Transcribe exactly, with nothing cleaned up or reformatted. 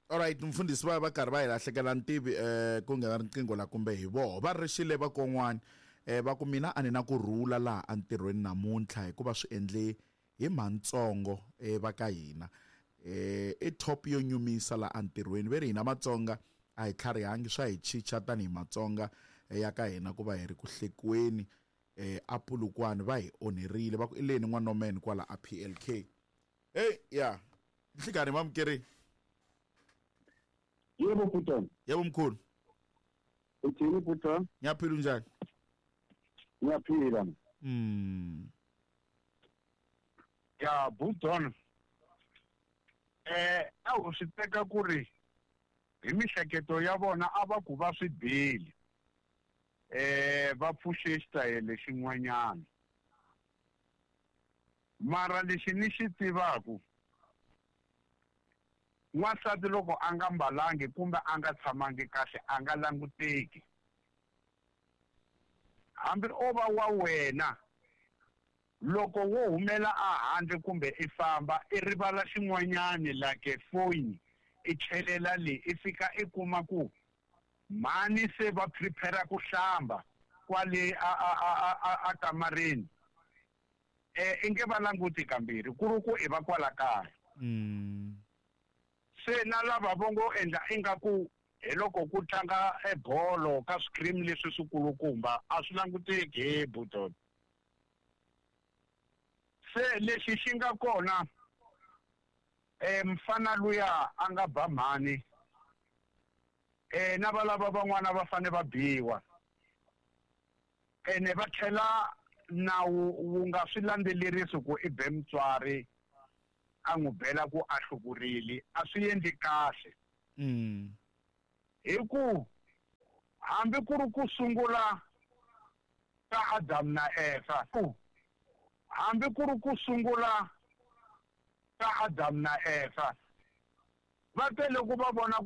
Alright, mfundhisi va va karhi va hi lahlekela ntivi eh ku nghena riqingho la kumbe hi voho va rixile va kon'wana eh va ku mina a ni na ku rhula laha entirhweni namuntlha hikuva swi endle hi mantsongo eh va ka hina eh i top yo nyumisa la entirhweni ve ri hina Matsonga a hi tlharihangi swa hi chicha tanihi Matsonga ya ka hina ku va hi ri ku hlekiweni eh a Polokwane va hi onherile va ku i leni n'wanomene kwala a P L K. Hey ya nhlikani mamukeri. Yebo Puton. Yebo mkhulu. Uthini Puton? Ngiyaphila unjani? Ngiyaphila. Mm. Ya Puton. Eh a wu swi teka ku ri hi mihleketo ya vona a va ku va swi bile. Eh va pfuxe xitayele xin'wanyana. Mara lexi ni xi tivaku n'wansati loko a nga mbalangi kumbe a nga tshamangi kahle a nga languteki. Hambi o va wa wena loko wo humela a handle kumbe i famba i rivala xin'wanyani like phone i chelela le i fika i kuma ku mhani se va prepare ku hlamba kwale a a a a a kamareni eh i nge va languti kambirhi ku ri ku i va kwala kaya. Mm. Se na lava vongo endla ingaku hi loko ku tlanga ebolo ka screen leswi swikulukumba a swi languteki he Buton. Se lexi xi nga kona eh mfana luya a nga ba mhani eh na valava van'wana va fane va biwa ene va tlhela nawu wu nga swi landzelerisi ku i be mutswari a n'wi bela ku a hlukurile a swi endli kahle. Mm. Hi ku hambi ku ri ku sungula ka Adam na Eva ku hambi ku ri ku sungula ka Adam na Eva va tele ku va vona